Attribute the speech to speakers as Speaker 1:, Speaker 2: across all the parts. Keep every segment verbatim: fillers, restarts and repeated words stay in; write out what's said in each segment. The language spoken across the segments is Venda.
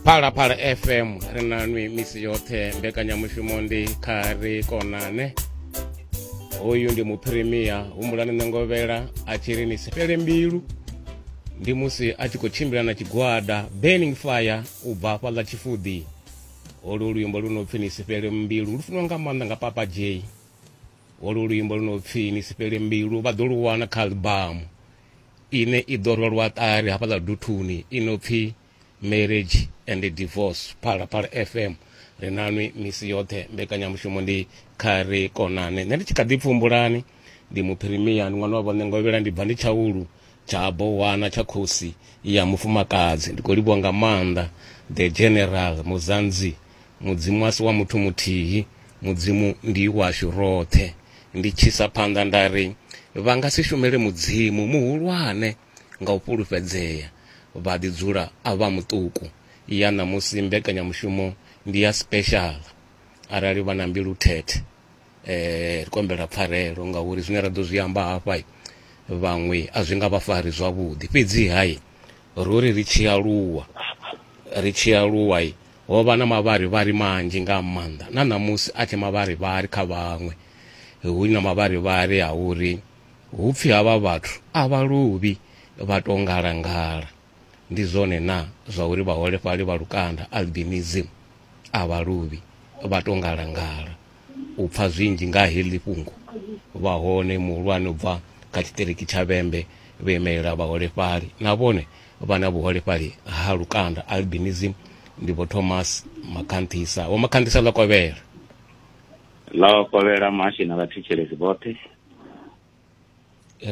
Speaker 1: Phalaphala F M ri na nwi misi yoṱhe, mbekanyamushumo ndi kha ri konane. Hoyu ndi muphirimia Humbulani Nengovhela a tshi ri ni si fhele mbilu, ndi musi a tshi khou tshimbila na tshigwada Burning Fire u bva hafhaḽa Tshifudi. Holu luimbo lu no pfi ni si fhele mbilu lu funwa nga maanḓa nga Papa J. Holu luimbo lu no pfi ni si fhele mbilu vha ḓo lu wana kha albamu ine i ḓo rwelwa ṱari hafhaḽa Duthuni i no pfi Marriage and Divorce. Phalaphala F M ri na nwi misi yoṱhe, mbekanyamushumo ndi kha ri konane. Nṋe ndi tshi kha ḓi pfumbulani ndi muphirimia, ndi ṅwana wa vho Nengovhela, ndi bva ndi tshaulu tsha Bowana tsha khosi ya mufumakadzi. Ndi khou livhuwa nga maanḓa the General Muzanzi, mudzimu asi wa muthu muthihi, mudzimu ndi washu roṱhe. Ndi tshisa phanḓa nda ri vha nga si shumele mudzimu muhulwane nga u fhulufhedzea vha ḓi dzula a vha muṱuku. Ya ṋamusi mbekanyamushumo ndi ya special, arali vha na mbilu thethe eh ri kombela pfarelo ngauri zwine ra ḓo zwi amba hafha vhaṅwe a zwi nga vha fari zwavhuḓi. Fhedzi hai rori ri tshi aluwa ri tshi aluwa ho vha na mavharivhari manzhi nga maanḓa, na ṋamusi a tshe mavharivhari kha vhaṅwe, hu na mavharivhari a uri hu pfi havha vhathu a vha luvhi vha to ngalangala. Ndi zwone na zwa uri vhaholefhali vha lukanda albinism a vha luvhi vha to ngalangala. U pfa zwinzhi nga heḽi fhungo vha hone muhulwane u bva kha tshiṱiriki tsha Vhembe vho imelela vhaholefhali, na vhone vha na vhuholefhali ha lukanda albinism, ndi vho Thomas Makhanthisa. Vho Makhanthisa, ḽo kovhela.
Speaker 2: Ḽo kovhela muhashi na vhathetshelesi vhoṱhe.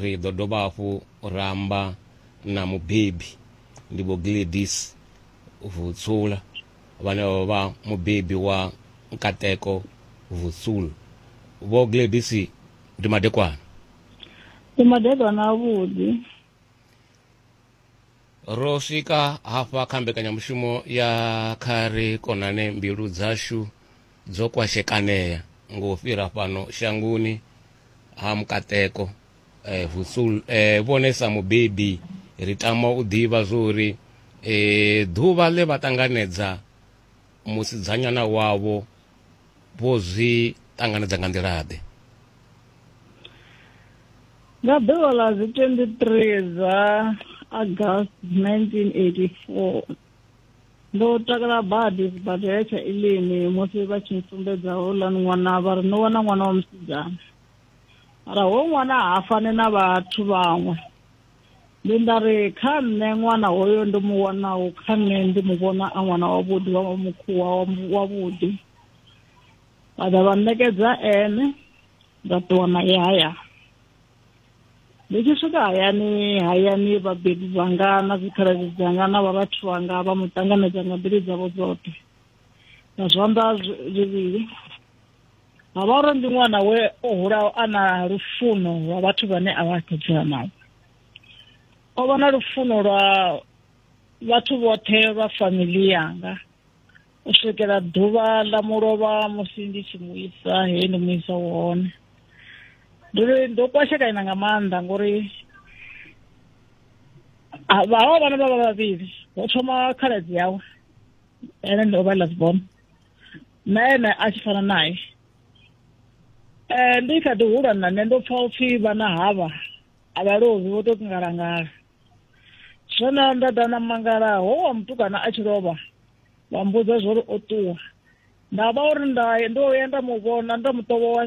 Speaker 1: Ri ḓo dovha hafhu ra amba na mubebi, ndi vho Gladys Vutsula, vhane vha vha mubebi wa Nkateko Vutsula. Vho Gladys, ndi madekwana.
Speaker 3: Ndi madekwana avhuḓi.
Speaker 1: Ro swika hafha kha mbekanyamushumo ya kha ri konane, mbilu dzashu dzo kwashekanea ngo fhira fhano shangoni ha Mukateko eh, Vutsula. Eh, vhone sa mubebi ri tama u ḓivha zwori eh, ḓuvha ḽe vha ṱanganedza musidzanyana wavho vho zwi ṱanganedza nga nḓila ḓe?
Speaker 3: Nga ḓuvha ḽa dzi twenty-three dza August nineteen eighty-four ndo takala badi sibadela tsha Elim musi vha tshi sumbedza houḽani ṅwana, vha ri no wana ṅwana wa musidzana, mara ho ṅwana ha fani na vhathu vhaṅwe. Ndi nda ri kha nṋe ṅwana hoyo ndo mu wanaho, kha nṋe ndi mu vhona a ṅwana wavhuḓi wa mukhuwa wavhuḓi. Vha ḓa vha nṋekedza ene, nda ṱuwa naye hayani. Ndi tshi swika hayani, hayani vhabebi vhanga na dzikhaladzi dzanga na vharathu vhanga vha mu ṱanganedza nga mbilu dzavho dzoṱhe nga zwanḓa zwivhili. Ha vha uri ndi ṅwana we o hulaho a na lufuno lwa vhathu vhane a vha khou dzula navho. O vha na lufuno lwa vhathu vhoṱhe vha family yanga u swikela ḓuvha ḽa mulovha musi ndi tshi mu isa he ndi mu isa hone. Ndo ndo kwashekana nga maanḓa ngori vhaho vhana vha vha vhavhili, ho thoma khaladzi yawe, ene ndi o vha last born, na ene a tshi fana naye. Eh ndi kha ḓi hula na nṋe ndo pfa upfi vhana havha a vha lovhi vho to ngalangala. Zwino nda ḓa na mangala ho wa mutukana a tshi lovha vha mbudza zwori o ṱuwa. Nda vha uri nda ndo ya nda mu vhona nda mu ṱovhowa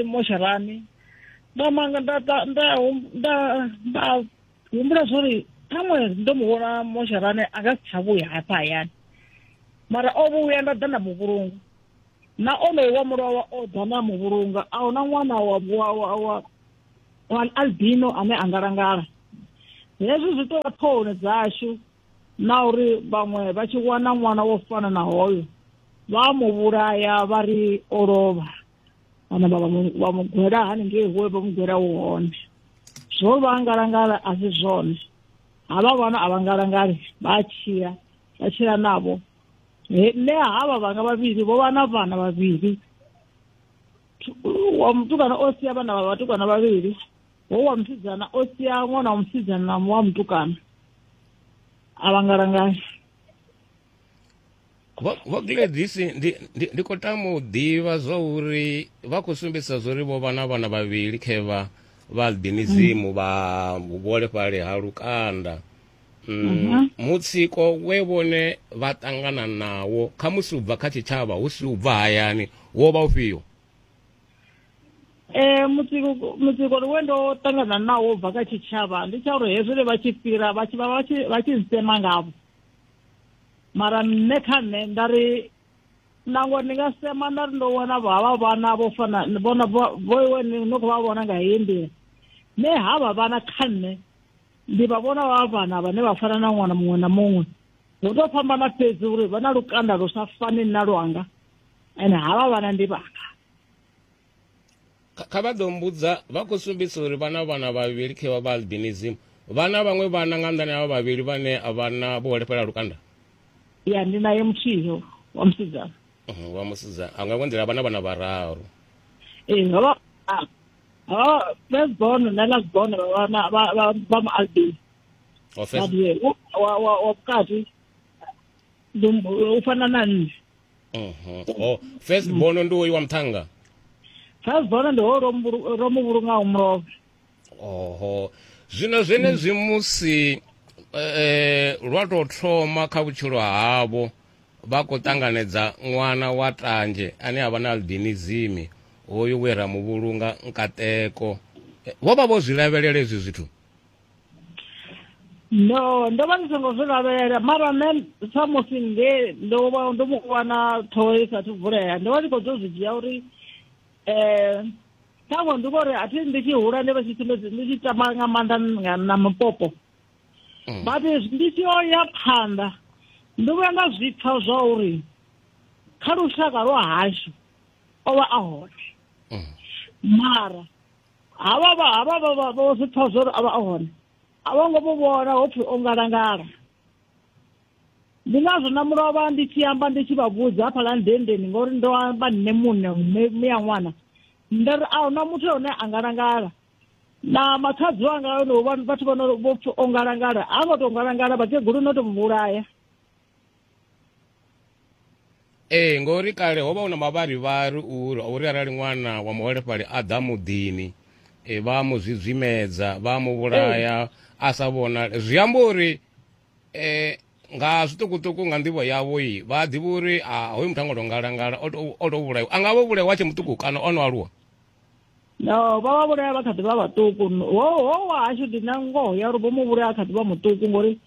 Speaker 3: mosharani, nda manga nda nda nda nda humbula zwori ṱhaṅwe ndo mu vhona mosharani a nga si tsha vhuya hafha hayani, mara o vhuya nda ḓa nda mu vhulunga. Na onoyo wa mulovha o ḓa na mu vhulunga, a huna ṅwana wa wa wa wa albino ane a ngalangala. Hezwi zwi tou vha ṱhohoni dzashu na uri vhaṅwe vha tshi wana ṅwana wo fana na hoyo vha mu vhulaya vha ri o lovha, vhana vha vha mu gwela haningei huwe vha mu gwela hu hone. Zwo vha ngalangala a si zwone, havha vhana a vha ngalangali, vha tshila vha tshila navho. Nṋe havha vhanga vhavhili vho vha na vhana vhavhili, wa mutukana o sia vhana vha vhatukana vhavhili, ho wa musidzana o sia ṅwana wa musidzana na wa mutukana, a vha ngalangali.
Speaker 1: Vho Gladys, ndi ndi khou tama u ḓivha zwa uri vha khou sumbedzisa zwa uri vho vha na vhana vhavhili khevha vha albinism vha vhuholefhali ha lukanda. Mm, mutsiko we vhone vha ṱangana nawo khamusi u bva kha tshitshavha hu si u bva hayani wo vha ufhio?
Speaker 3: Eh mutsiko mutsiko we ndo ṱangana nawo bva kha tshitshavha ndi tsha uri hezwi vha tshi fhira vha tshi vha tshi vha tshi sema ngavho. Mara nṋe kha nṋe nda ri nangwe ndi nga sema nda ri ndo wana havha vhana vho fana vhona vho iwe no khou vha vhona nga heyi nḓila, nṋe havha vhana kha nṋe ndi vha vhona vha vhana vhane vha fana na ṅwana muṅwe na muṅwe. Hu to fhambana fhedzi uri vha na lukanda lu sa fani na lwanga, ende havha vhana ndi vhanga.
Speaker 1: Kha vha ḓo mbudza vha khou sumbedzisa uri vhana vhana vhavhili khevha vha albinism, vhana vhaṅwe vhana nga nḓani havha vhavhili vhane a vha na vhuholefhali ha lukanda?
Speaker 3: Ya, ndi naye muthihi wa musidzana.
Speaker 1: Wa musidzana a nga nḓila vhana vhana vhararu.
Speaker 3: Ee, havha havha first born na last born vha vha vha vha mu albino.
Speaker 1: Wa first
Speaker 3: wa wa wa vhukati ndi u fana na nṋe.
Speaker 1: Mhm. Oh, first born ndi uyu wa muthannga.
Speaker 3: First born ndi ho ro mu vhulungaho mulovha.
Speaker 1: Oho. Zwino zwenezwi musi eh lwa tou thoma kha vhutshilo havho vha khou ṱanganedza ṅwana wa tanzhe ane a vha na albinism, hoyu we ra mu vhulunga Nkateko, vho vha vho zwi lavhelela hezwi zwithu?
Speaker 3: No, ndo vha ndi songo zwi lavhelela, mara nṋe sa musi nge ndo vha ndo mu wana ṱhoho i sathu vulea, ndo vha ndi khou ḓo zwi dzhia uri eh ṱhaṅwe ndi ngori a thi ndi tshi hula ndi vha tshi sumbedza ndi tshi tamba nga maanḓa na mupopo. But ndi tshi yo ya phanḓa ndo vhuya nda zwi pfha zwa uri kha lushaka lwa hashu o vha a hone, mara havha vha havha vha vho zwi pfha zwa uri a vha a hone a vho ngo mu vhona ho pfhi o ngalangala. Ndi ngazwo na mulovha ndi tshi amba ndi tshi vha vhudza hafhaḽa ndendeni, ngori ndo amba nṋe muṋe mme ya ṅwana, nda ri a huna muthu ane a ngalangala. Na makhadzi wanga no vhathu vha no vho pfhi o ngalangala, a ngo to ngalangala, vhakegulu no to mu vhulaya.
Speaker 1: Ee, ngori kale ho vha hu na mavharivhari uri uri arali ṅwana wa muholefhali a ḓa muḓini e vha mu zwidzimedza vha mu vhulaya a sa vhonale. Zwi amba uri eh nga zwiṱukuṱuku nga nḓivho yavho i vha ḓivha uri a hoyu muthu a ngo to ngalangala, o to o to vhulaiwa. A nga vho vhulaiwa tshe muṱuku kana o no aluwa?
Speaker 3: No, vha vha vhulaya vha kha ḓi vha vhaṱuku. Ho ho wa hashu ndi na ngoho ya uri vho mu vhulaya kha ḓi vha muṱuku, ngori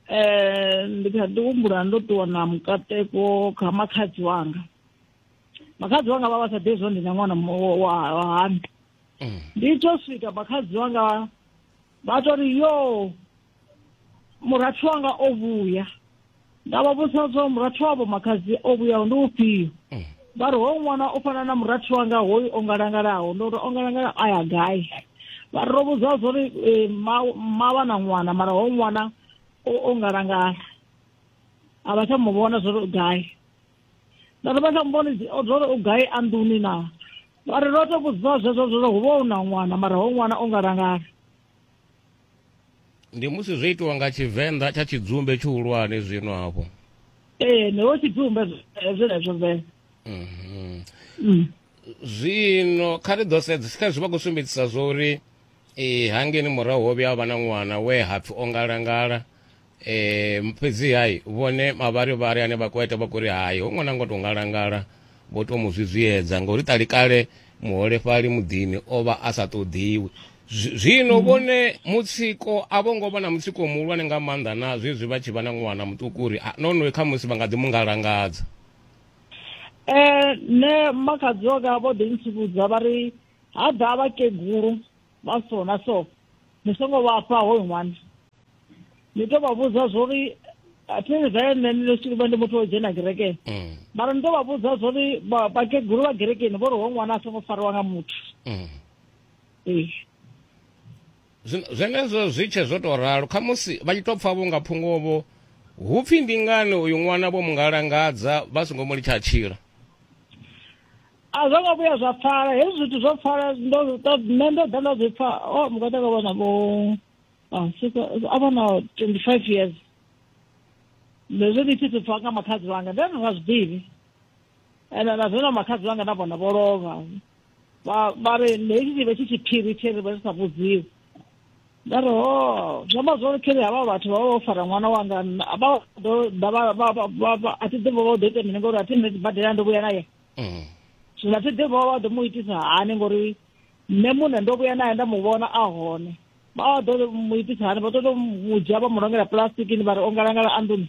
Speaker 3: eh ndi kha ḓi humbula ndo ṱuwa na Mukateko kha makhadzi wanga. Makhadzi wanga vha vha sa ḓivhi zwo ndi na ṅwana wa hani. Ndi to swika makhadzi wanga vha to ri yo murathu wanga o vhuya. Nda vha vhudza zwa murathu wavho makhadzi o vhuya ndi ufhio. Vha ri ho ṅwana o fana na murathu wanga hoyu o ngalangalaho. Ndo ri o ngalangala a ya gai? Vha ri ro vhudzwa zwa uri mma vha na ṅwana mara ho ṅwana o ngalangala, a vha tsha mu vhona zwa uri u gai. Nda ri vha tsha mu vhona zwa uri u gai a nḓuni na? Vha ri ro to vhudziwa zwezwo zwa uri hu vha hu na ṅwana mara ho ṅwana o ngalangala.
Speaker 1: Ndi musi zwo itiwa nga Tshivenḓa tsha tshidzumbe tshihulwane zwino hafho.
Speaker 3: Ee, ndi ho tshidzumbe zwenezwo vele.
Speaker 1: Mm. Zwino kha ri ḓo sedza kha zwi vha khou sumbedzisa zwa uri eh hangeni murahu ho vhuya vha na ṅwana we hapfi o ngalangala, eh fhedzi hai vhone mavharivhari ane vha khou ita vha khou ri hai ho ṅwana ngo to ngalangala, vho to mu zwizwiedza ngori ṱalikale muholefhali muḓini o vha a sa ṱoḓiwi. Zwino vhone mutsiko a vho ngo vha na mutsiko muhulwane nga maanḓa na zwezwi vha tshi vha na ṅwana muṱuku uri no no kha musi vha nga ḓi mu ngalangadza.
Speaker 3: Eh nṋe makhadzi wanga vho ḓi ntsivhudza vha ri ha ḓa vhakegulu vha so na so ni songo vha fha hoyu ṅwana. Ni to vha vhudza zwori a thi vhe nṋe ndi vha ndi muthu wo dzhena kerekeni, mara ni to vha vhudza zwori vhakegulu vha kerekeni vho ri hoyu ṅwana a songo fariwa nga muthu. Ee,
Speaker 1: zwenezwo zwi tshe zwo to ralo khamusi vha tshi to pfha vho nga phungovho hu pfhi ndi ngani uyu ṅwana vho mungalangadza vha songo mu litsha tshila.
Speaker 3: A zwo ngo vhuya zwa pfala hezwi zwithu zwo pfala, ndo nṋe ndo ḓa nda zwi pfha o Mukateko vhona vho a vha na twenty-five years. Ndi zwe ndi tshi pfa nga makhadzi wanga nda ndi sa zwi ḓivhi. Ende na zwino makhadzi wanga na vhona vho lovha. Vha vha ri hezwi tshi vhe tshi tshiphiri tshe ri vha ri sa vhudziwi. Nda ri ho zwi amba zwori kheri havha vhathu vha vha vho fara ṅwana wanga vha ḓo ḓa vha vha a thi ḓivhi vha ḓo ita mini ngori a thi nṋe sibadela ndo vhuya naye. Zwino a thi ḓivhi vha ḓo mu itisa hani ngori nṋe muṋe ndo vhuya naye nda mu vhona a hone. Vha ḓo mu itisa hani, vha ḓo mu dzhia vha mu longela puḽasitikini vha ri o ngalangala a nḓuni.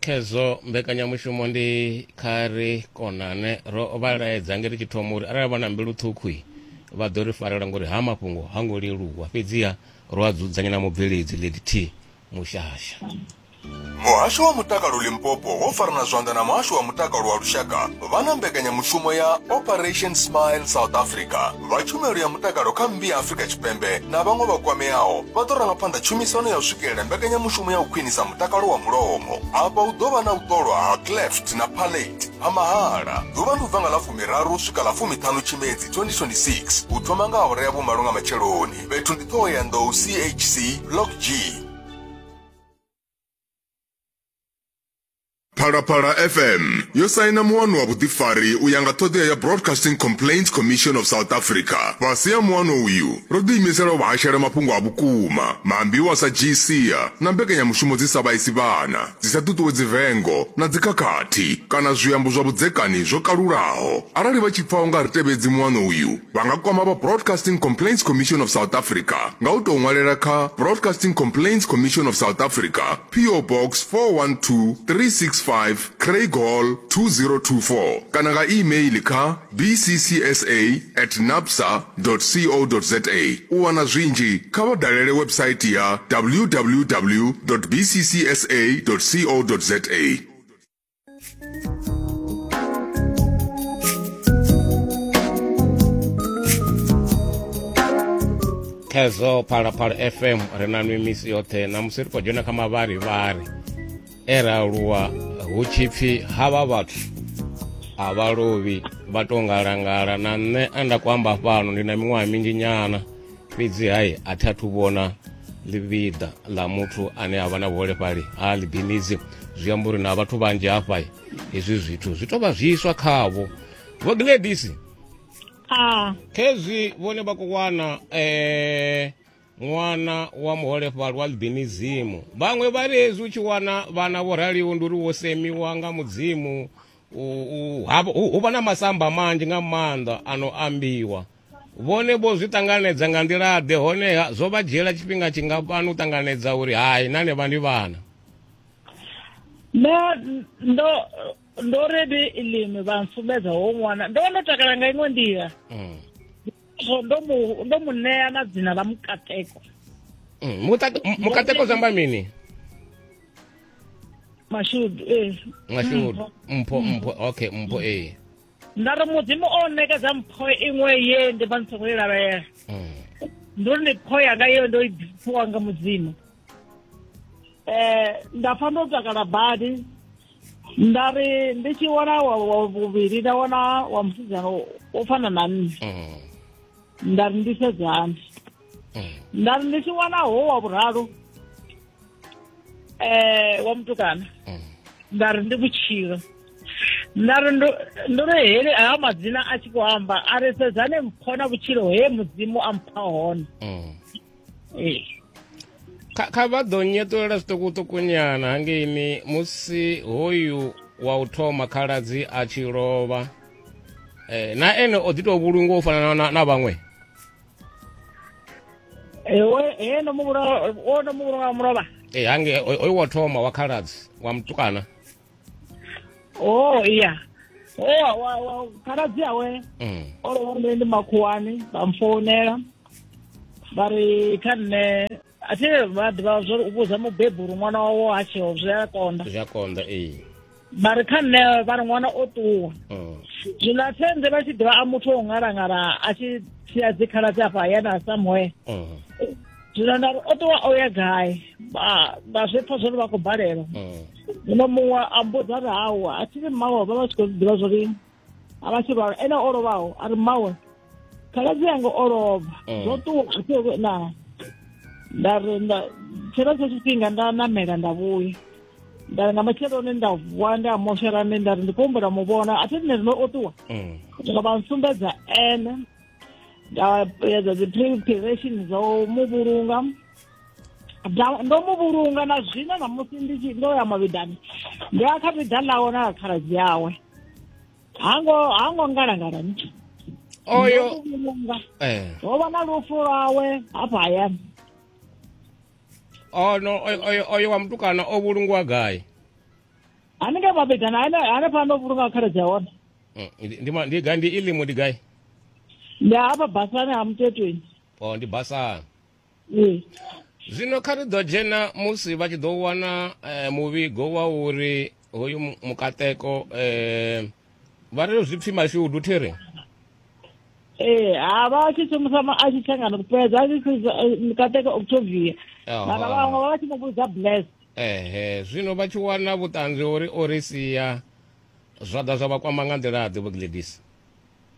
Speaker 1: Khezwo mbekanyamushumo ndi kha ri konane ro vha laedza nge ri tshi thoma uri arali vha na mbilu ṱhukhu vha ḓo ri farela ngori ha mafhungo ha ngo leluwa, fhedziha ro a dzudzanya na mubveledzi Lady T Mushasha.
Speaker 4: Muhasho wa Mutakalo Limpopo wo farana zwanḓa na Muhasho wa Mutakalo wa Lushaka vha na mbekanyamushumo ya Operation Smile South Africa. Vha tshumelo ya mutakalo kha mmbi ya Afrika Tshipembe na vhaṅwe vha kwameaho vha ḓo ranga phanḓa tshumisano ya u swikelela mbekanyamushumo ya u khwinisa mutakalo wa mulomo. Afha hu ḓo vha na u ṱolwa ha cleft na palate ha mahala. Ḓuvha ndi u bva nga ḽa fumiraru u swika ḽa fumiṱhanu Tshimedzi twenty twenty-six u thoma nga awara ya vhumalo nga matsheloni. Fhethu ndi Thohoyandou C H C Block G. Phalaphala F M yo saina muano wa vhuḓifari u ya nga ṱhoḓea ya Broadcasting Complaints Commission of South Africa. Fhasi ha muano uyu ro ḓiimisela u vha hashela mafhungo a vhukuma, maambiwa sa G C na mbekanyamushumo dzi sa vhaisi vhana, dzi sa ṱuṱuwedzi vengo na dzikhakhathi kana zwiambo zwa vhudzekani zwo kalulaho. Arali vha tshi pfa u nga ri tevhedzi muano uyu, vha nga kwama vha Broadcasting Complaints Commission of South Africa nga u tou ṅwalela kha Broadcasting Complaints Commission of South Africa, P O Box four one two three six five, Craig Hall two zero two four kana nga email kha b c c s a at napsa dot co dot za. U wana zwinzhi kha vha dalele website ya w w w dot b c c s a dot co dot za.
Speaker 1: Khezwo Phalaphala F M ri na nwi misi yoṱhe na musi ri khou dzhena kha mavharivhari e ra aluwa hu tshi pfi havha vhathu a vha lovhi vha tou ngalangala. Na nṋe a nda khou amba fhano ndi na miṅwaha minzhi nyana, fhedzi hai a thi athu vhona ḽivhiḓa ḽa muthu ane a vha na vhuholefhali ha albinism. Zwi amba uri na vhathu vhanzhi hafha hezwi zwithu zwi tou vha zwiswa khavho. Vho Gladys,
Speaker 3: Ah,
Speaker 1: khezwi vhone vha khou wana eh ṅwana wa muholefhali wa albinism, vhaṅwe vha ri hezwi u tshi wana vhana vho raliho ndi uri wo semiwa nga mudzimu, hu vha na masamba manzhi nga maanḓa ano ambiwa. Vhone vho zwi ṱanganedza nga nḓila ḓe, honeha zwo vha dzhiela tshifhinga tshingafhani u ṱanganedza uri hai na ne vha ndi vhana?
Speaker 3: Nṋe ndo ndo ri ndi ilimi vha nsumbedza ho ṅwana ndo vha ndo takala nga iṅwe nḓila. Ndo mu ndo mu ṋea na dzina ḽa Mukateko.
Speaker 1: Mukateko zwi amba mini?
Speaker 3: Mashudu, eh.
Speaker 1: Mashudu, mpho mpho, okay, mpho eh.
Speaker 3: Nda ri mudzimu o ṋekedza mpho iṅwe ye ndi vha ndi songo i lavhelela. Ndo ri ndi mpho yanga ye ndo i fhiwa nga mudzimu. Eh, nda pfa ndo takala badi. Nda ri ndi tshi wana wa vhuvhili nda wana wa musidzana o fana na nṋe. Nda ri ndi sedzani. Nda ri ndi tshi wana ho wa vhuraru eh wa mutukana nda ri ndi vhutshilo. Nda ri ndo ri hele aya madzina a tshi khou amba a ri sedzane mpho na vhutshilo he mudzimu a mpha hone. Eh
Speaker 1: kha kha vha ḓo nyeṱulela zwiṱukuṱukunyana hangeini musi hoyu wa u thoma khaladzi a tshi lovha, eh na ene o ḓi tou vhulungwa u fana na, na vhaṅwe?
Speaker 3: Ewe he ndo mu vhulunga, o ndo mu vhulunga mulovha.
Speaker 1: Eh hange hoyu wa thoma wa khaladzi wa mutukana.
Speaker 3: Oh iya. Oh wa wa khaladzi awe.
Speaker 1: Mm.
Speaker 3: O lovha ndi makhuwani vha mfounela vha ri kha nṋe a thi vha ḓivha zwo u vhudza mubebi uri ṅwana wawe ha tsheho zwi a konḓa.
Speaker 1: Zwi a konḓa ee.
Speaker 3: Vha ri kha nṋe vha ri ṅwana o ṱuwa.
Speaker 1: Mm.
Speaker 3: Zwino a thenze vha tshi ḓivha a muthu o ngalangala a tshi sia dzikhaladzi afha hayani a somewhere.
Speaker 1: Mm.
Speaker 3: Zwino nda ri o ṱuwa o ya gai, vha zwi pfa zwori vha khou balelwa. Zwino muṅwe a mbudza ri hawa a thi ri mmawe vha vha tshi khou ḓivha zwori a vha tshi lwala, ene o lovhaho a ri mmawe khaladzi yanga o lovha zwo ṱuwa a thi na. Nda ri nda tshenetsho tshifhinga nda namela nda vhuya. Nda nga matsheloni nda vuwa nda mosherani nda ri ndi khou humbela mu vhona a thi nṋe zwino o ṱuwa. Nga vha nsumbedza ene nda edza dzi preparation dzo mu vhulunga. Ndo mu vhulunga na zwino na musi ndi tshi ndo ya mavhiḓani ndi a kha vhiḓa ḽawe na khaladzi yawe. Hango hango ngalangala ni.
Speaker 1: Oyo eh
Speaker 3: ho vha na lufu lwawe hafha hayani.
Speaker 1: Oh no, oyo oyo wa mutukana o vhulungwa gai?
Speaker 3: Haningei mavhiḓani ane hanefha ndo vhulunga khaladzi ya hone.
Speaker 1: Ndi ndi gai ndi ilimu ndi gai?
Speaker 3: Ndi hafha basani ha Mutetweni.
Speaker 1: Oh ndi basani.
Speaker 3: Ee.
Speaker 1: Zwino kha ri ḓo dzhena musi vha tshi ḓo wana eh, muvhigo wa uri hoyu mukateko eh, vha ri zwi pfi mashudu thiri?
Speaker 3: Ee, ha vha tshi shumisa a tshi tshangana fhedza a tshi mukateko Octavia. Mara vhaṅwe vha tshi mu vhudza Bless.
Speaker 1: Ehe, zwino vha tshi wana vhuṱanzi uri o ri sia zwa ḓa zwa vha kwama nga nḓila ḓe Vho Gladys?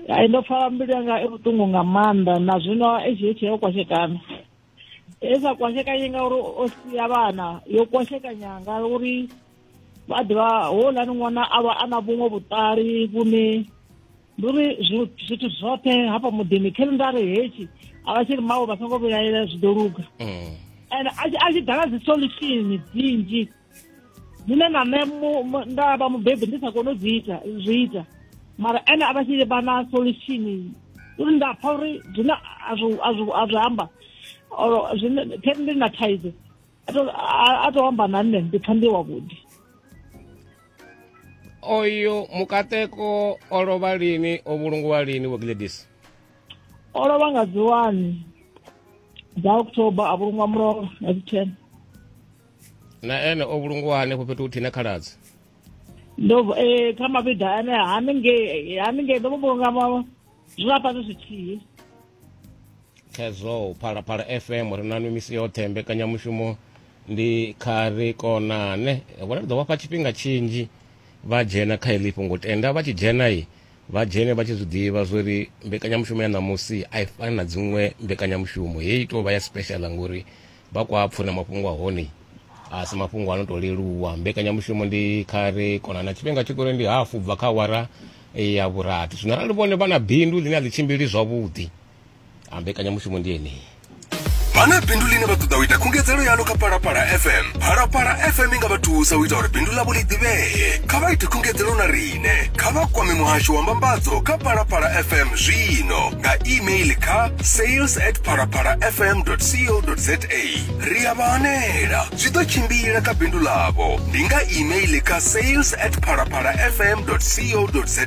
Speaker 3: Ai ndo pfa mbilu yanga i vhuṱungu nga maanḓa na zwino i tshi tshi yo kwashekana. E sa kwashekanye ngauri o sia vhana, yo kwashekanya ngauri vha ḓivha houḽani ṅwana a vha a na vhuṅwe vhuṱali vhune ndi uri zwithu zwoṱhe hafha muḓini khe nda ri hetshi a vha tshi ri mawe vha songo vhilaela zwi ḓo luga. Ende a tshi ḓa na dzi solution dzinzhi dzine na nṋe nda vha mubebi ndi sa koni u dzi ita zwi ita mara ene a vha tshi vha na solution uri nda pfa uri zwine a zwi a zwi a zwi amba or zwine khe ndi na thaidzo a to amba na nṋe ndi pfa ndi wavhuḓi.
Speaker 1: Oyo mukateko o lovha lini, o vhulungiwa lini Vho Gladys?
Speaker 3: O lovha nga dzi one dza October a vhulungwa mulovha nga dzi ten.
Speaker 1: Na ene o vhulungiwa hanefho fhethu huthihi na khaladzi?
Speaker 3: Ndo eh kha mavhiḓa ane haningei haningei ndo vhulunga zwi fhasi zwithihi.
Speaker 1: Khezwo Phalaphala F M ri na misi yoṱhe mbekanyamushumo ndi kha ri konane. Vhona ri ḓo vha fha tshifhinga tshinzhi vha dzhena kha heḽi fhungo, tenda vha tshi dzhena i vha dzhene vha tshi zwi ḓivha zwori mbekanyamushumo ya ṋamusi a i fani na dziṅwe mbekanyamushumo, heyi tou vha ya special ngori vha kwa pfuna mafhungo a hone a si mafhungo ano tou leluwa. Mbekanyamushumo ndi kha ri konana, tshifhinga tshi kore ndi hafu bva kha awara ya vhurathi. Zwino arali vhone vha na bindu ḽine a ḽi tshimbili zwavhuḓi, a mbekanyamushumo ndi yeneyi.
Speaker 5: Vha na bindu ḽine vha ṱoḓa u ita khungedzelo yaḽo kha Phalaphala F M. Phalaphala F M i nga vha thusa u ita uri bindu ḽavho ḽi ḓivhee. Kha vha ite khungedzelo na riṋe. Kha vha kwame muhasho wa mbambadzo kha Phalaphala F M zwino nga email kha sales at phalaphala f m dot co dot za. Ri a vha hanela, zwi ḓo tshimbila kha bindu ḽavho. Ndi nga email kha sales at phalaphala f m dot co dot za.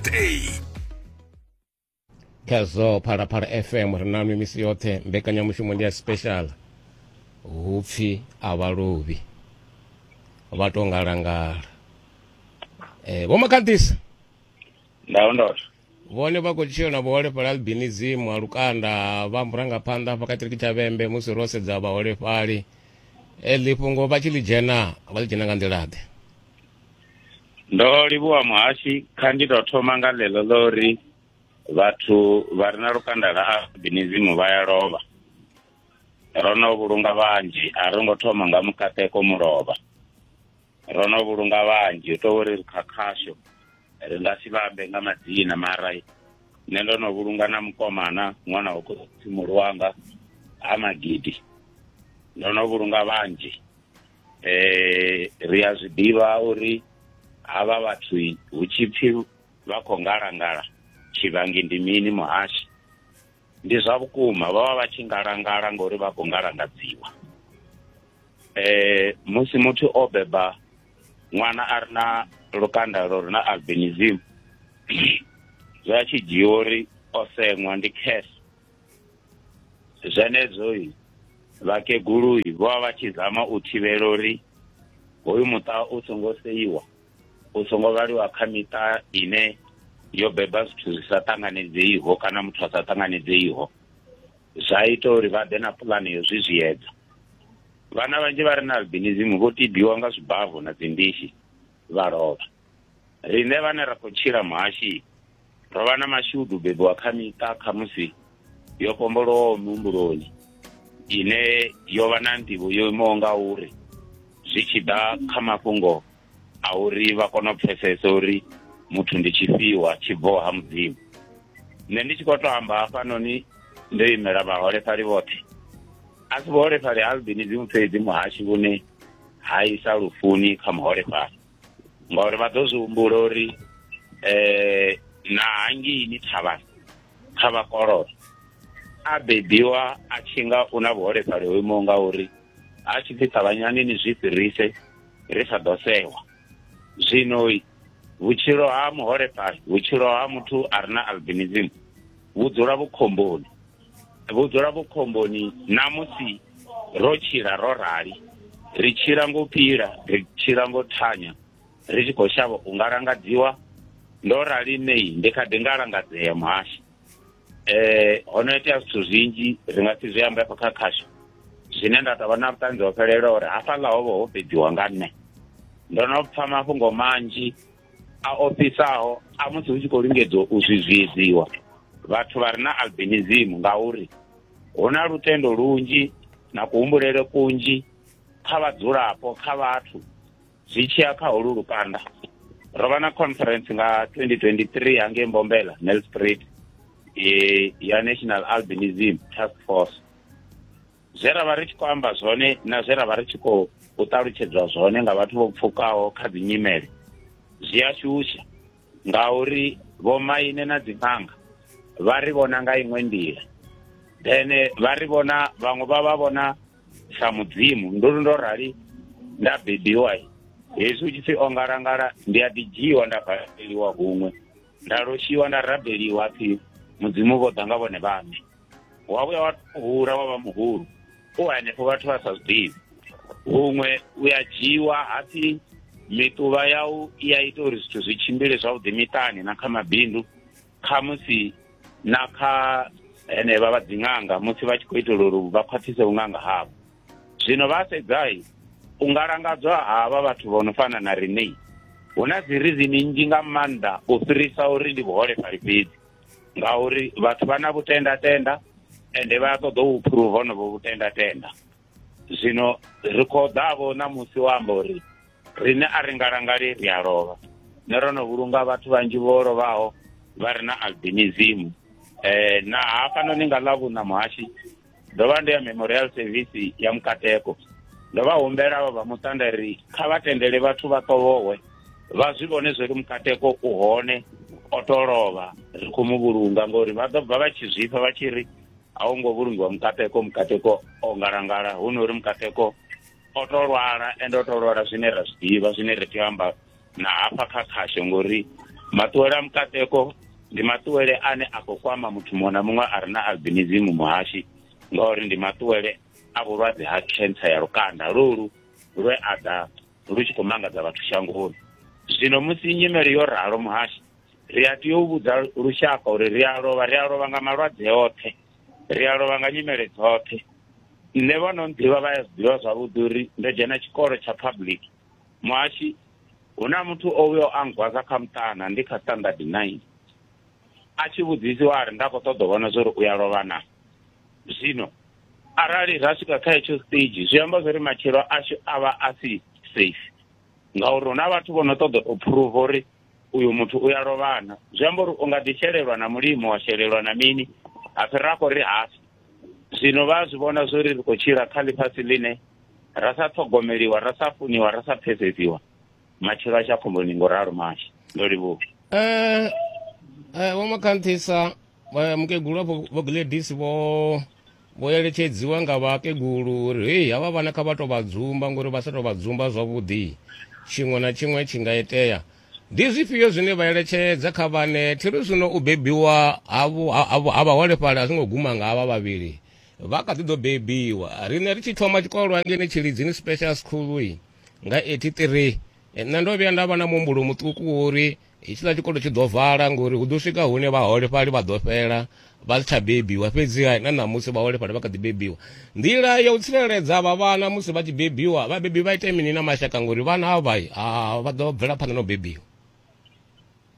Speaker 1: Khezwo Phalaphala F M ri na misi yoṱhe mbekanyamushumo ndi ya special, hupfi a vha lovhi vha to ngalangala. Eh Vho Makhandisa
Speaker 2: ndao ndoto
Speaker 1: vhone vha khou tshila na vhuholefhali albinism ha lukanda, vha murangaphanḓa hafha kha tshiṱiriki tsha Vhembe musi ro sedza vhaholefhali. Eḽi fhungo vha tshi ḽi dzhena vha ḽi dzhena nga nḓila ḓe?
Speaker 2: Ndo livhuwa muhashi, kha ndi tou thoma nga ḽeḽo ḽo uri vhathu vha re na lukanda lwa albinism vha ya lovha. Ro no vhulunga vhanzhi, a ro ngo thoma nga mukateko mulovha. Ro no vhulunga vhanzhi, u tou uri kha khasho ri nga si vha ambe nga madzina, mara nṋe ndo no vhulunga na mukomana ṅwana wa khotsi wanga ha Magidi. Ndo no vhulunga vhanzhi. Eh ri a zwi ḓivha uri havha vhathu hu tshi pfi vha khou ngalangala tshivhangi ndi mini muhashi. Ndi zwa vhukuma vha vha vha tshi ngalangala ngori vha khou ngalangadziwa. Eh musi muthu o beba ṅwana a re na lukanda lwo re na albinism, zwa tshi dzhiiwa uri o seṅwa ndi curse. Zwenezwo vhakegulu vho vha vha tshi zama u thivhela uri hoyu muṱa u songo seiwa, u songo vhaliwa kha miṱa ine yo beba zwithu zwi sa ṱanganedzeiho kana muthu a sa ṱanganedzeiho. Zwa ita uri vha ḓe na puḽane yo zwi zwiedza. Vhana vhanzhi vha re na albinism vho tibiwa nga zwibavu na dzimbishi vha lovha. Riṋe vhane ra khou tshila muhashi ro vha na mashudu bebiwa kha miṱa khamusi yo pombolowaho muhumbuloni, ine yo vha na nḓivho yo imaho nga uri zwi tshi ḓa kha mafhungo a uri vha kone u pfesesa uri muthu ndi tshifhiwa tshi bvaho ha Mudzimu. Nṋe ndi tshi khou to amba hafhanoni ndo imela vhaholefhali vhoṱhe, a si vhuholefhali ha albinism fhedzi muhashi vhune ha isa lufuni kha muholefhali, ngauri vha ḓo zwi humbula uri eh na hangeini thavhani kha vhakololo a bebiwa a tshi nga u na vhuholefhali ho imaho nga uri a tshi pfi ṱavhanyani ni zwi fhirise ri sa ḓo sewa. Zwino vhutshilo ha muholefhali, vhutshilo ha muthu a re na albinism vhu dzula vhukhomboni, vhu dzula vhukhomboni namusi ro tshila ro rali, ri tshila ngo pila, ri tshila ngo thanya, ri tshi khou shavha u ngalangadziwa. Ndo rali nei ndi kha ḓi ngalangadzea muhashi. Eh ho no itea zwithu zwinzhi ri nga si zwi ambe afha kha khasho, zwine nda tou vha na vhuṱanzi ho fhelelaho uri hafhaḽa ho vha ho fhedziwa nga nṋe. Ndo no pfha mafhungo manzhi a ofhisaho a musi hu tshi khou lingedziwa u zwizwiedziwa vhathu vha re na albinism, ngauri hu na lutendo lunzhi na kuhumbulele kunzhi kha vhadzulapo, kha vhathu zwi tshiya kha holu lukanda. Ro vha na conference nga twenty twenty-three hangei Mbombela, Nelspruit, e ya National Albinism Task Force. Zwe ra vha ri tshi khou amba zwone na zwe ra vha ri tshi khou ṱalutshedzwa zwone nga vhathu vho pfukaho kha dzi nyimele zwi a shusha, ngauri vhomaine na dzi ṅanga vha ri vhona nga iṅwe nḓila, then vha ri vhona vhaṅwe vha vha vhona sa mudzimu. Ndo ndo rali nda bebiwa hezwi hu tshi pfi o ngalangala, ndi a ḓi dzhiiwa nda valeliwa huṅwe, nda loshiwa nda rabeliwa pfi mudzimu vho ḓa nga vhone vhaṋe. Wa vhuya wa hula wa vha muhulu u hanefho vhathu vha sa zwi ḓivhi. Huṅwe u ya dzhiiwa hapfi miṱuvha yau i a ita uri zwithu zwi tshimbile zwavhuḓi miṱani na kha mabindu, khamusi na kha henevha vha dziṅanga musi vha tshi khou itela uri vha khwaṱhise vhuṅanga havho. Zwino vha sedzai u ngalangadzwa havha vhathu vho no fana na riṋe, hu na dzi reason nnzhi nga maanḓa u fhirisa uri ndi vhuholefhali fhedzi, ngauri vhathu vha na vhutendatenda ende vha ṱoḓa u phuruva honovho vhutendatenda. Zwino ri khou ḓavho ṋamusi wa amba uri riṋe a ri ngalangali, ri a lovha. Nṋe ro no vhulunga vhathu vhanzhi vho lovhaho vha re na albinism. Eh na hafhanoni nga ḽavhuṋa muhashi ndo vha ndo ya memorial service ya Mukateko, ndo vha humbela vha vha muṱa ri kha vha tendele vhathu vha ṱovhowe vha zwi vhone zwori Mukateko u hone o to lovha, ri khou mu vhulunga, ngori vha ḓo bva vha tshi zwifha vha tshi ri a hu ngo vhulungiwa Mukateko, Mukateko o ngalangala, hu no uri Mukateko o to lwala, ende o to lwala zwine ra zwi ḓivha, zwine ri tea u amba na hafha kha khasho, ngori maṱuwele a Mukateko ndi maṱuwele ane a khou kwama muthu muṅwe na muṅwe a re na albinism muhashi, ngauri ndi maṱuwele a vhulwadze ha cancer ya lukanda lolu lwe a ḓa lu tshi khou mangadza vhathu shangoni. Zwino musi nyimele yo ralo muhashi, ri a tea u vhudza lushaka uri ri a lovha, ri a lovha nga malwadze oṱhe, ri a lovha nga nyimele dzoṱhe. Nṋe vho no nḓivha vha ya zwi ḓivha zwavhuḓi uri ndo dzhena tshikolo tsha public muhashi, hu na muthu o vhuya a ngwaza kha muṱana ndi kha standard nine, a tshi vhudzisiwa a ri nda khou ṱoḓa u vhona zwori u ya lovha na. Zwino arali ra swika kha hetsho stage zwi amba zwori matshilo ashu a vha a si safe, ngauri hu na vhathu vho no ṱoḓa u phuruva uri uyu muthu u ya lovhana. Zwi amba uri u nga ḓi shelelwa na mulimo wa shelelwa na mini, ha fhira khou ri hafi. Zwino vha zwi vhona zwori ri khou tshila kha ḽifhasi ḽine ra sa ṱhogomeliwa, ra sa funiwa, ra sa pfesesiwa, matshilo ashu a khomboni ngo ralo mashi. Ndo livhuwa.
Speaker 1: Eh eh vho Makhanthisa mukegulu vho vho Gladys vho vho eletshedziwa nga vhakegulu uri hei havha vhana kha vha to vha dzumba, ngori vha sa to vha dzumba zwavhuḓi tshiṅwe na tshiṅwe tshi nga itea. Ndi zwifhio zwine vha eletshedza kha vhane thiri zwino u bebiwa havho ha vhaholefhali a zwi ngo guma nga havha vhavhili, vha kha ḓi ḓo bebiwa. Riṋe ri tshi thoma tshikolo hangeini Tshilidzini Special School nga eighty-three, nṋe ndo vhuya nda vha na muhumbulo muṱuku uri hetshiḽa tshikolo tshi ḓo vala ngori hu ḓo swika hune vhaholefhali vha ḓo fhela vha si tsha bebiwa, fhedziha na ṋamusi vhaholefhali vha kha ḓi bebiwa. Nḓila ya u tsireledza avha vhana musi vha tshi bebiwa, vhabebi vha ite mini na mashaka ngori vhana avha vha ḓo bvela phanḓa na u bebiwa?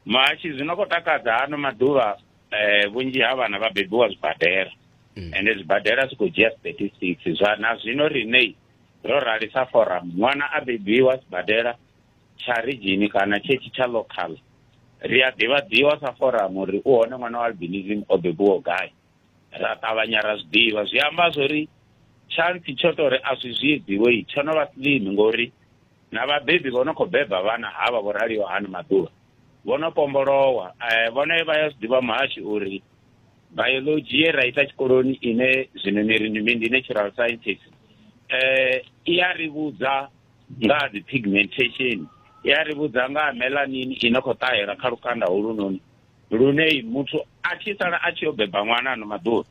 Speaker 2: Mashi zwino khou takadza hano maḓuvha eh vhunzhi ha vhana vha bebiwa zwibadela. mm. Ende zwibadela zwi khou dzhia statistics zwa na zwino riṋe ro rali sa forum ṅwana a bebiwa sibadela tsha region kana tshetshi tsha local ri a ḓivhadziwa sa forum uri u hone ṅwana wa albinism o bebiwa gai, ra ṱavhanya ra zwi ḓivha. Zwi amba zwori chance tsho to uri a zwi zwidziwe tsho no vha slim ngori na vhabebi vho no khou beba vhana havha vho raliho hano maḓuvha vho no pombolowa. Vhone vha ya zwi ḓivha muhashi uri biology ye ra ita tshikoloni ine zwino ni ri ndi natural sciences eh i ya ri vhudza nga dzi pigmentation, i ya ri vhudza nga melanin ino khou ṱahela kha lukanda holunoni lune muthu a tshi sala a tshi yo beba ṅwana ano maḓuvha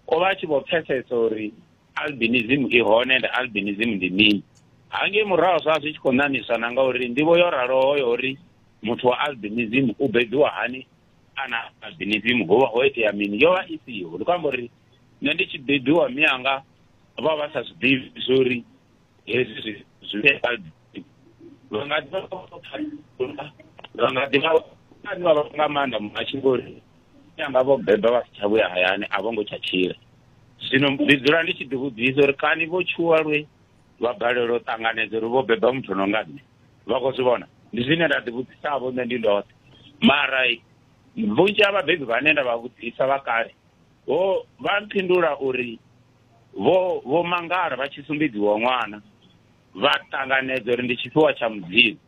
Speaker 2: o vha a tshi vho pfesesa uri albinism i hone and albinism ndi mini. Hangei murahu zwa zwi tshi khou ṋaṋiswa na ngauri nḓivho yo raloho yo uri muthu wa albinism u bebiwa hani ana albinism ho vha ho itea mini yo vha i siho. Ndi khou amba uri nṋe ndi tshi bebiwa mianga vha vha sa zwi ḓivhi zwori hezwi zwi vha nga ḓi vha nga ḓi vha vha nga maanḓa muhashi ngori mianga vho beba vha si tsha vhuya hayani a vho ngo tsha tshila. Zwino ndi dzula ndi tshi ḓivhudzisa uri kani vho tshuwa lwe vha balelwa u ṱanganedza uri vho beba muthu no nga nṋe, vha khou zwi vhona. Ndi zwine nda ḓivhudzisa vho nṋe ndi ndoṱhe, mara vhunzhi ha vhabebi vhane nda vha vhudzisa vha kale vho vha mphindula uri vho vho mangala vha tshi sumbedziwa ṅwana vha ṱanganedza uri ndi tshifhiwa tsha Mudzimu.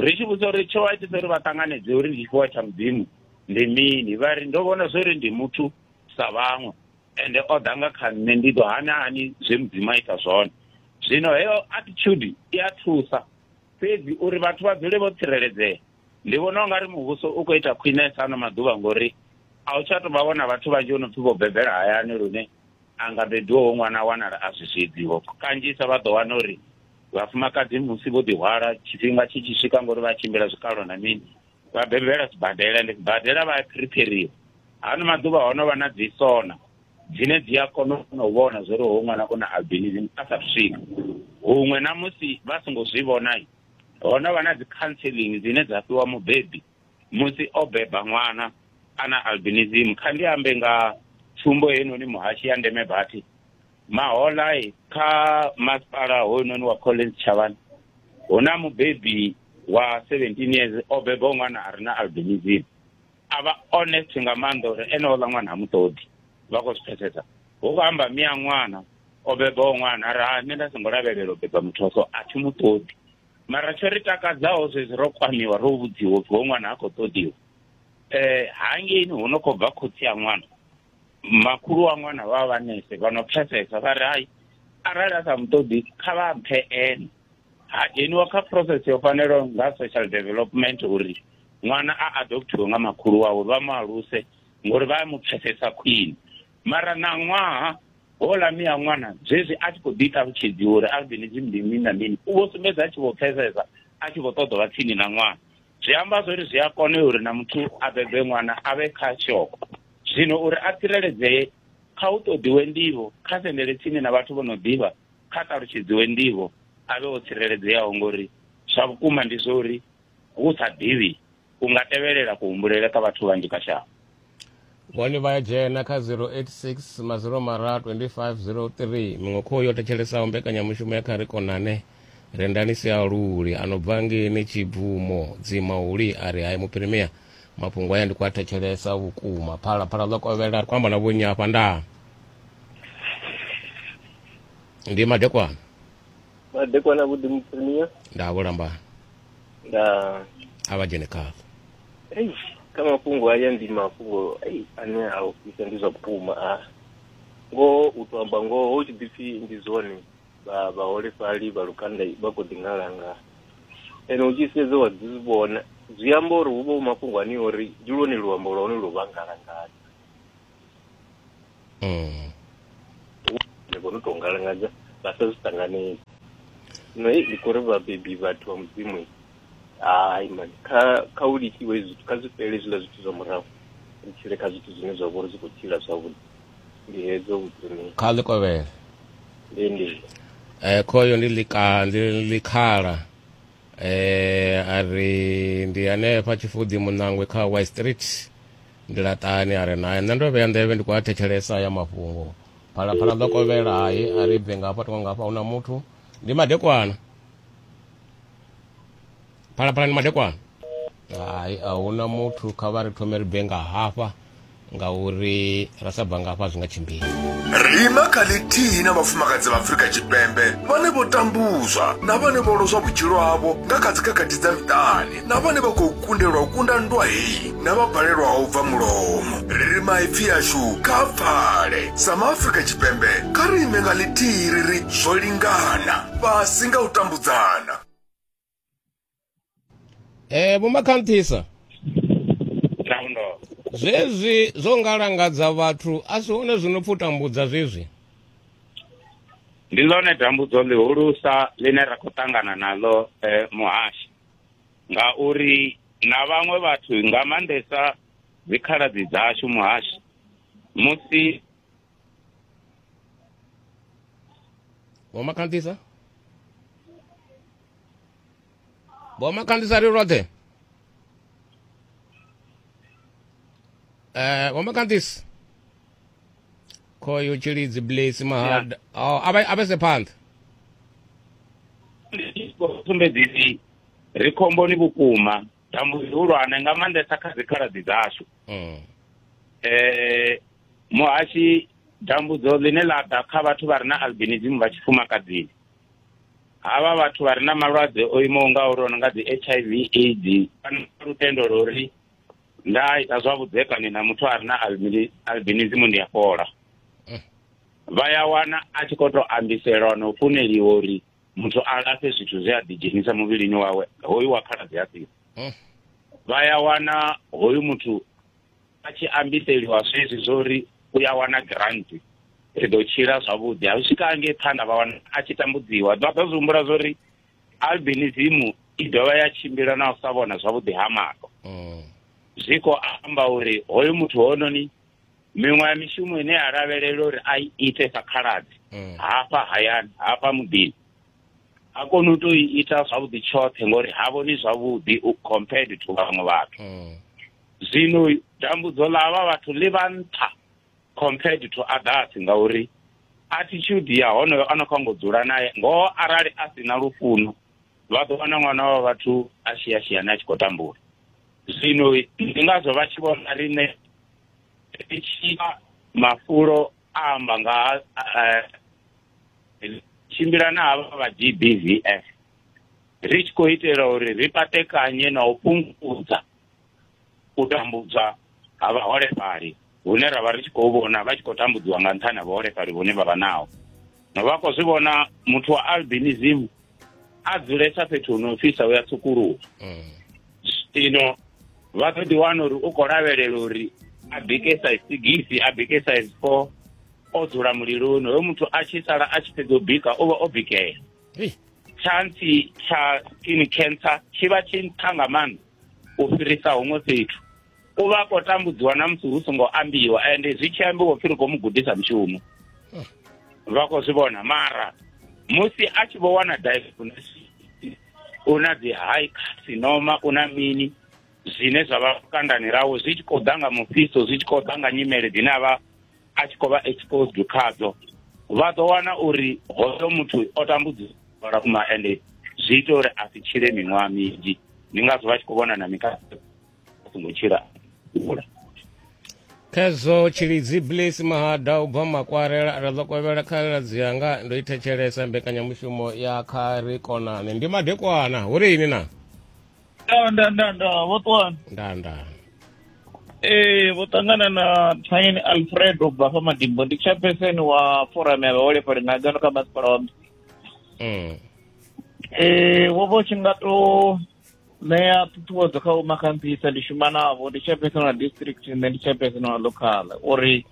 Speaker 2: Ri tshi vhudza uri tsho vha itisa uri vha ṱanganedze uri ndi tshifhiwa tsha Mudzimu ndi mini, vha ri ndo vhona zwori ndi muthu sa vhaṅwe ende o ḓa nga kha nṋe, ndi ḓo hana hani zwe Mudzimu a ita zwone. Zwino heyo attitude i a thusa fhedzi uri vhathu vha dzule vho tsireledzea. Ndi vhona ungari muvhuso u khou ita khwinesa ano maḓuvha ngori a u tsha tou vha vhona vhathu vhanzhi vho no pfhi vho bebela hayani lune a nga bebiwaho ṅwana wanala a zwi zwidziho. Kanzhisa vha ḓo wana uri vhafumakadzi musi vho ḓihwala tshifhinga tshi tshi swika ngori vha tshimbila zwikalo na mini vha bebela sibadela, ndi sibadela vha phiriphiriwa. Hano maḓuvha ho no vha na dzi sona dzine dzi a kona u vhona zwori hoyu ṅwana u na albinism a sa swika huṅwe, na musi vha songo zwi vhona ho no vha na dzi counseling dzine dza fhiwa mubebi musi o beba ṅwana ana albinism. Kha ndi ambe nga tsumbo heinoni muhashi ya ndeme bathi mahola kha masipala hoyunoni wa Collins Chavani hu na mubebi wa seventeen years o beba ṅwana a re na albinism. A vha honest nga maanḓa uri ene oḽa ṅwana ha mu ṱoḓi, vha khou zwi pfesesa. Hu khou amba mia ṅwana o bebaho ṅwana a ri ha nṋe nda songo lavhelela u beba muthu so a thi mu ṱoḓi. Mara tsho ri takadzaho zwezwi ro kwamiwa ro vhudziwa upfhi hoyu ṅwana ha khou ṱoḓiwa eh hangeini hu no khou bva khotsi ya ṅwana, makhulu wa ṅwana vha vha nese vha no pfesesa vha ri hai arali a sa mu ṱoḓi kha vha mphe ene. Ha dzheniwa kha process yo fanelaho nga social development uri ṅwana a adoptiwe nga makhulu wawe vha mu aluse ngori vha mu pfesesa khwine. Mara na ṅwaha houḽa mia ṅwana zwezwi a tshi khou ḓi ṱalutshedziwa uri albinism ndi mini na mini u vho sumbedza a tshi vho pfesesa a tshi vho ṱoḓa vha tsini na ṅwana. Zwi amba zwori zwi a kona uri na muthu a bebe ṅwana a vhe kha shoko. Zwino uri a tsireledzee kha u ṱoḓiwe nḓivho, kha sendele tsini na vhathu vho no ḓivha, kha ṱalutshedziwe nḓivho a vhe o tsireledzeaho ngori zwa vhukuma ndi zwo uri hu sa ḓivhi u nga tevhelela kuhumbulele kha vhathu vhanzhi kha shango.
Speaker 1: Vhone vha ya dzhena kha zero eight six mazero mararu twenty five zero three. Muṅwe kho yo thetshelesa mbekanyamushumo ya kha ri konane Rendani Sialuli a no bva ngeini Tshibvumo Dzimauli a ri hai muphirimia mafhungo aya ndi khou a thetshelesa vhukuma. Phala phala ḽo kovhela ri khou amba na vhonnyi hafha ndaa. Ndi madekwana.
Speaker 6: Madekwana vhuḓi muphirimia.
Speaker 1: Nda vho lambana.
Speaker 6: Nda
Speaker 1: a vha dzhene khazwo.
Speaker 6: Ei kha mafhungo aya ndi mafhungo ei ane a ofhisa ndi zwa vhukuma a ngoho u to amba ngoho hu tshi ḓipfhi ndi zwone vha vhaholefhali vha lukanda vha khou ḓi ngalanga ene u tshi sedza wa ḓi zwi vhona zwi amba uri hu vha hu mafhungo ane uri ndi lwone luambo lwa hone lwo vha ngalangadza.
Speaker 1: Mm.
Speaker 6: Ndi vhona u tou ngalangadza vha sa zwi ṱanganedzi. Zwino hei ndi khou ri vhabebi vhathu vha Mudzimu hai mani kha kha u litshiwe zwithu kha zwi fhele hezwiḽa zwithu zwa murahu ri tshile kha zwithu zwine zwa vha uri zwi khou tshila zwavhuḓi. Ndi hedzo vhudzimini.
Speaker 1: Kha ḽi kovhele.
Speaker 6: Ndi ndi.
Speaker 1: Eh khoyo ndi ḽika ndi ḽikhala eh a ri ndi hanefha Tshifudi Muṋangwe kha White Street. Ndi laṱani a re naye. Nṋe ndo vhea nḓevhe ndi khou a thetshelesa ya mafhungo. Phalaphala ḓo kovhela hai a ri bve ngafha tonga ngafha huna muthu. Ndi madekwana. Phalaphala ndi madekwana. Hai a huna muthu, kha vha ri thome ri bve nga hafha ngauri ra sa bva nga hafha zwi nga tshimbili.
Speaker 5: Ri ima kha ḽithihi na vhafumakadzi vha Afrika Tshipembe vhane vho tambudzwa na vhane vho lozwa vhutshilo havho nga kha dzikhakhathi dza miṱani, na vhane vha khou kundelwa u kunda nndwa heyi, na vha balelwaho u bva mulomo. Ri ri maipfi ashu kha pfale. Sa maAfrika Tshipembe kha ri ime nga ḽithihi ri ri zwo lingana, fhasi nga u tambudzana.
Speaker 1: Eh Vho Makhanthisa, zwezwi zwo ngalangadza vhathu a si hone zwino pfi u tambudza zwezwi?
Speaker 2: Ndi ḽone dambudzo ḽihulusa ḽine ra khou ṱangana naḽo eh, muhashi, ngauri na vhaṅwe vhathu nga maanḓesa dzikhaladzi dzashu muhashi musi
Speaker 1: Vho Makhanthisa, Vho Makhanthisa ri roṱhe. Eh Vho Makhanthisa khoyo Tshilidzi Blessy Mahada. Oh avha avha se phanḓa.
Speaker 2: Sumbedzisi ri khomboni vhukuma, dambudzo ḽihulwane nga maanḓesa kha dzikhaladzi dzashu.
Speaker 1: Mm.
Speaker 2: Eh muhashi dambudzo ḽine ḽa ḓa kha vhathu vha re na albinism vha tshifumakadzini, havha vhathu vha re na malwadze o imaho nga uri nga dzi H I V AIDS, vha na lutendo lwa uri nda ita zwa vhudzekani na muthu a re na albinism ndi a fhola. Vha ya wana a tshi khou tou ambiselwa na u funeliwa uri muthu a lafhe zwithu zwe a ḓidzhenisa muvhilini wawe, hoyu wa khaladzi a siho. Vha ya wana hoyu muthu a tshi ambiseliwa zwezwi zwo uri u ya wana grant, ri ḓo tshila zwavhuḓi. A swika ngei phanḓa vha wana a tshi tambudziwa. Vha ḓo zwi humbula zwo uri albinism i dovha ya tshimbila na u sa vhona zwavhuḓi ha maṱo. Zwi khou amba uri hoyu muthu hononi miṅwe ya mishumo ine ya lavhelela uri a i ite sa khaladzi hafha hayani hafha muḓini a koni u tou i ita zwavhuḓi tshoṱhe ngori ha vhoni zwavhuḓi compared to vhaṅwe vhathu. Zwino dambudzo ḽa havha vhathu ḽi vha nṱha compared to others ngauri attitude ya honoyo a no khou ngo dzula naye ngoho arali a si na lufuno vha ḓo wana ṅwana wa vhathu a shiashiani a tshi khou tambula. Zwino ndi ngazwo vha tshi vhona riṋe ri tshi mafulo a amba nga tshimbila na havha vha G B V F ri tshi khou itela uri ri patekanye na u fhungudza u tambudzwa ha vhaholefhali hune ra vha ri tshi khou vhona vha tshi khou tambudziwa nga nṱhani ha vhaholefhali vhune vha vha naho. No vha khou zwi vhona muthu wa albinism a dzulesa fhethu hu no fhisa u ya tsukuluwa. Zwino vha ḓo ḓi wana uri u khou lavhelela uri a bike size six, a bike size four, o dzula muliloni. Hoyo muthu a tshi sala a tshi fhedza u bika o vha o bikea. Chance tsha skin cancer tshi vha tshi nṱha nga maanḓa u fhirisa huṅwe fhethu. U vha khou tambudziwa na musi hu songo ambiwa, ende zwi tshi ambiwa pfhi ri khou mu gudisa mushumo. Vha khou zwi vhona, mara musi a tshi vho wana diagnosis u na dzi high carcinoma, u na mini zwine zwa vha lukandani rawe zwi tshi khou ḓa nga mufhiso, zwi tshi khou ḓa nga nyimele dzine a vha a tshi khou vha exposed khadzo, vha ḓo wana uri hoyo muthu o tambudziwa vhukuma ende zwi ita uri a si tshile miṅwaha minzhi. Ndi ngazwo vha tshi khou vhona na mikano a songo tshila.
Speaker 1: Khezwo Tshilidzi Blessy Mahada u bva Makwarela ra ḓo kovhela khaladzi yanga ndo i thetshelesa mbekanyamushumo ya Kha Ri Konane. Ndi madekwana hu ri ini na?
Speaker 7: Nda nda nda vho ṱuwani.
Speaker 1: Nda nda.
Speaker 7: Eh vho ṱangana na Thanyeni Alfredo bva fa Madimbo, ndi chairperson wa forum ya vhaholefhali nga ngano kha masipala wa Musina.
Speaker 1: Mm.
Speaker 7: Eh wo vho tshi nga to ṋea ṱhuṱhuwedzo kha Makhanthisa, ndi shuma navho, ndi chairperson wa district nṋe ndi chairperson wa local, uri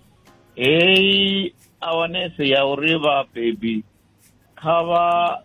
Speaker 7: heyi awareness ya uri vhabebi kha vha